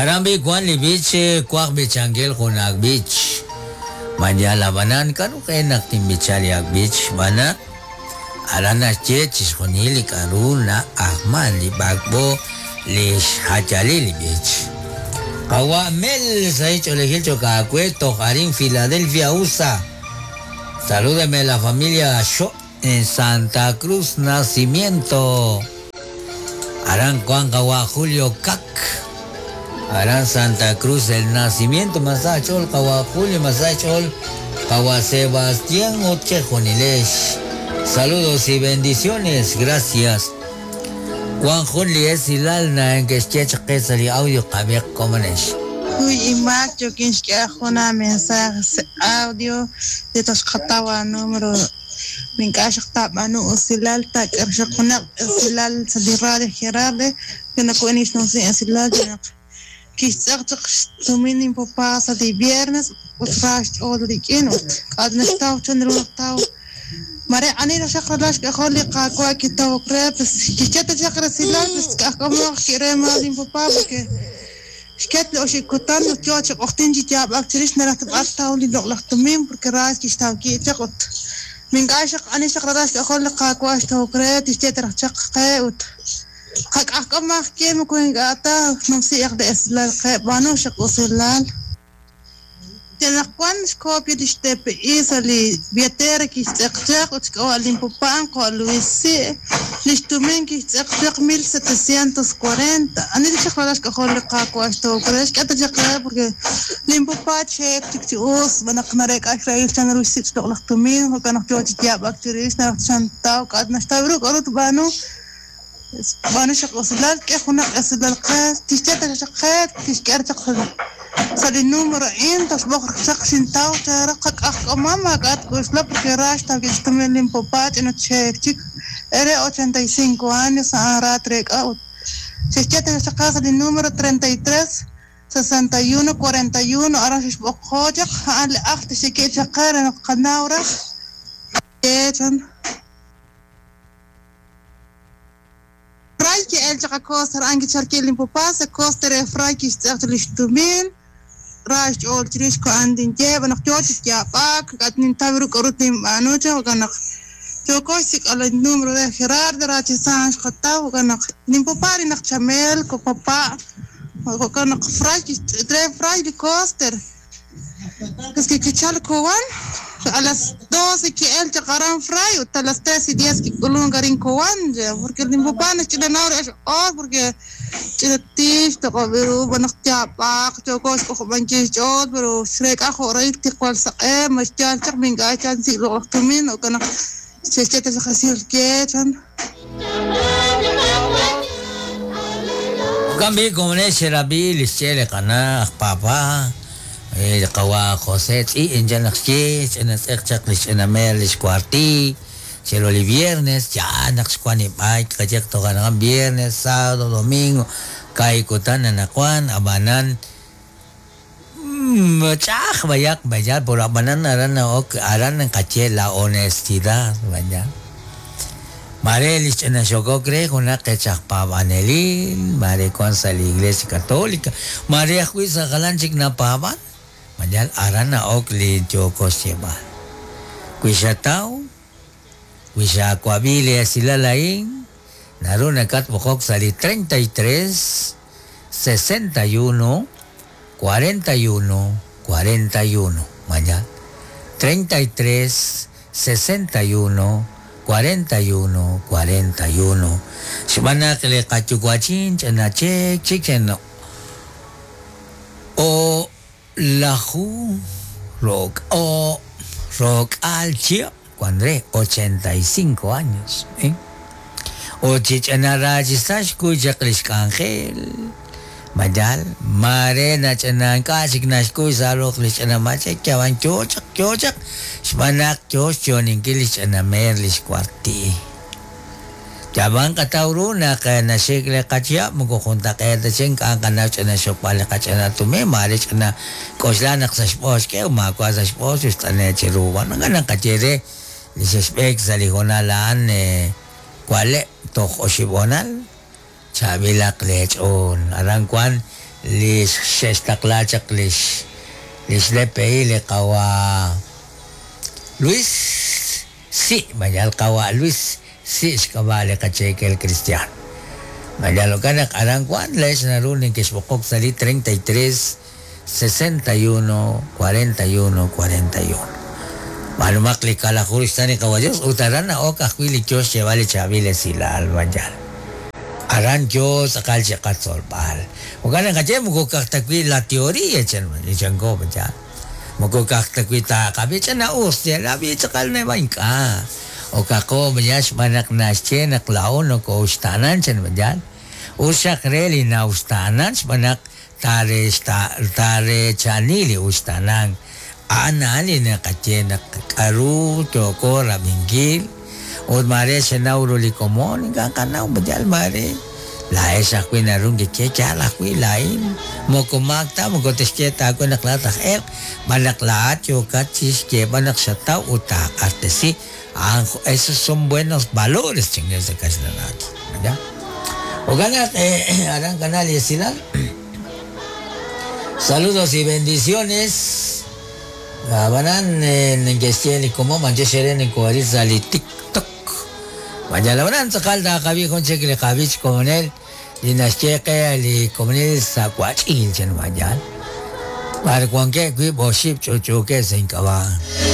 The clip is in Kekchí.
Aran b'i wan li b'ich twaj b'ichankil jun ak' b'ich. Ma yal ab'anan k'aru qe naq tinb'icha li ak' b'ich? Xb'aan naq aran naxye chixjunil li k'aru na'ajman li b'ak'b'o li xjayalil li b'ich. Qawa' Mel, sahil ch'oolejil cho'q aawe toj arin Philadelphia, USA. Salúdeme la familia Xo' en Santa Cruz Nacimiento. Aran wank qawa' Julio Kak. Aran Santa Cruz del Nacimiento. Ma sa' xch'ool qawa' Julio, ma sa' xch'ool qawa' Sebastián ut chejunilex. Saludos y bendiciones. Gracias. Wank jun li esilal neke'xye chaq qe sa' li audio qab'iiq komonex. Kuy inmaak yookin xk'ehal jun aamensaje sa' audio li toj xqataw aanumero Ink'a' xaq taab'aanu usilal, taak'e xaq junaq esilal sa' li radio Gerarde, ke naku'in xnumsi esilal re naq kixtz'eq chaq xtumin inpapa sa' li viernes ut ra xch'ool rik'in ut k'a' naxtaw chan ru naq taw. Mare ani raj xaq ralal xk'ajol li Qaawa' kitawok re, pues kixye ta chaq resilal, pues k'ajk'amoq ki're maal inpapa porque Xket li oxib' kutan ut yoo chi q'ojtin chi yaab'ak chirix naraj ta b'ar taw li loq'laj tumin porque ra kixtaw ki' chaq ut mink'a' xaq ani xaq ralal xk'ajol li Qaawa' xtawok re tixye ta raj chaq qe ut qak'ajk'om maj ye moko ink'a' ta numsi'aq li esilal qe b'aanu xaq usilal. Yal naq wan xkopia lix TPI sa' li billetera kixtz'eq chaq ut xk'ab'a' lin papá qawa' Luis Si', lix tumin kixtz'eq chaq 1740. Ani li chaq ralal xk'ajol li Qaawa' xtawok re? Xk'e ta chaq re porque lin papá cheek chik chi us xb'aan naq nareek'a xrahil chan ru xsik' xloq'laj tumin, jo'kan naq yoo chi yaab'ak chirix naraj chan taw k'a' naxtaw ru k'a'ru tb'aanu. B'aanu xaq usilal, k'e junaq esilal qe, tixye ta xaq qe, tixk'e chaq sa' li número a'in, toxb'oq chaq xintaw cheere qak'ajk'omam maak'a' tk'uxla porque ra xtawk'i xtumin lin papá ch'ina cheek chik, ere 85 años a'an ra treek'a ut xexye ta xaq qe sa' li número 33 61 41 aran xexb'oqjo chaq a'an li ajl tixye chaq qe re naq qanaw raj chan. Fray ki'el chaq a Costa a'an kichalk lin papá sa' Costa re Fray kixtz'eq chaq lix tumin, ra xch'ool chirix ko'an tinye xb'aan naq yoo chi yaab'ak, k'a' nintaw ru k'a'ru tinb'aanu chan jo'kan naq yooko xsik'b'al li número re Gerardo ra chi saan xqataw jo'kan naq lin papá rinaq Chamelco papa' jo'kan naq Fray re Fray li Coster. Es que kichalk Cobán a las 12 ki'el chaq aran Fray ut a las 3:10 kik'ulunk arin Cobán porque lin papá naxch'inanaw re xq'oor porque ch'ina tix toq'ob' ru xb'aan naq yaab'aq yooko xk'ojob'ankil xch'ool pero xreek'a jo' rahil tiqwal saq'e ma xyaal chaq ma ink'a' xyaal sik' loq'laj tumin jo'kan naq xe'xye ta chaq resil ke chan. Jo'kan b'i' komonex xerab'i li xye li qana' aj Papa, li qawa' José tz'i' anchal naq xye, ch'ina tz'eq chaq li xch'ina meer li xkuartiiy, chiru li viernes, yaal naq xwank li b'ayk qayehaq toj anaqwan viernes, sábado, domingo, kaahib' kutan anaqwan, ab'anan Ch'a'aj b'ayaq b'ayaq pero ab'anan aran na'ok aran naqaye la honestidad b'ayaq. Maare li xch'ina xokok re junaq qech aj paab'anelil, maare wank sa' li Iglesia Católica, maare ajwi' sa' jalan chik napaab'an, b'ayaq aran na'ok li yooko xyeeb'al. Wi xataw, wi xaawab'i li esilal a'in, naru nakatb'oqok sa' li 33 61 41 41. Mañana. 33 61 41 41. Xb'aan naq li qayuwa'chin ch'ina cheek chik o laju ro'k o ro'k'aal chihab' wan re 85 años. ¿Eh? Ut chi ch'ina raachisa xkuy chaq li xk'anjel. Mayal, maare nach'ina ink'a' chik naxkuy sa' roq li xch'ina mach'ek, yab'an yoo chaq, yoo chaq, xb'aan naq yoo xyo'oninkil li xch'ina meer li xwarti'i. Yab'an qataw ru naq naxik li qachihab' moko juntaq'eet ta chik ink'a' nqanaw ch'ina xokb'al li qach'ina tumin, maare ch'ina k'oxla naq sa' xb'oos xk'e ut maawa' sa' xb'oos ut xt'ane' chiru. Wan naqaye re li xexb'eek sa' li hoonal a'an wa'leb' toj oxib' hoonal, chaab'ilaq leech'ool. Aran wank Li xe'xtaqla chaq lix lix DPI li qawa' Luis Si' mayal qawa' Luis Si' xk'ab'a' li qacheekel kristiaan. Mayal jo'kan naq aran wan leex naru nekexb'oqok sa' li 33 61 41 41. B'aanumaq li kalaju xsa' li qawa' Dios ut aran na'ok ajwi' li yo xyeeb'al li chaab'il esilal mayal. Aran yo tz'aqal chi qatzolb'al. Jo'kan naq qaye moko ka'aj ta wi' la teoría chan chanko mayal. Moko ka'aj ta wi' taaqab'i ch'ina'us rab'i tz'aqal neb'a ink'a'. Okaqo mayal xb'aan naq naxye naq laa'o nokooxtaanan chan mayal. Us xaq re li nauxtaanan xb'aan naq taarechani li uxtaanan. A'an a'an li naqaye naq k'aru yooko rab'inkil ut maare xenaw ru li komon ink'a' qanaw mayal maare laa'ex ajwi' naru nkeye yaal ajwi' laa'in moko maak ta moko texye ta aawe naq laa'at aj elq' b'an naq laa'at yookat chi xyeeb'al naq xataw ut taaq'axtesi. A'an esos son buenos valores chingue sa kaxlanat. ¿Ya? Jo'kan naq aran kanal li esilal. Saludos y bendiciones. Ab'anan neke'xye li komon manche xere neko'aril sa' li TikTok. Mayal ab'anan tz'aqal taaqab'i jun chik li qab'ich komonel li naxye qe li komonil sa' wach'il chan mayal. B'ar wankeb' wiib' oxib' ch'uch'uukeb' sa' ink'ab'a'.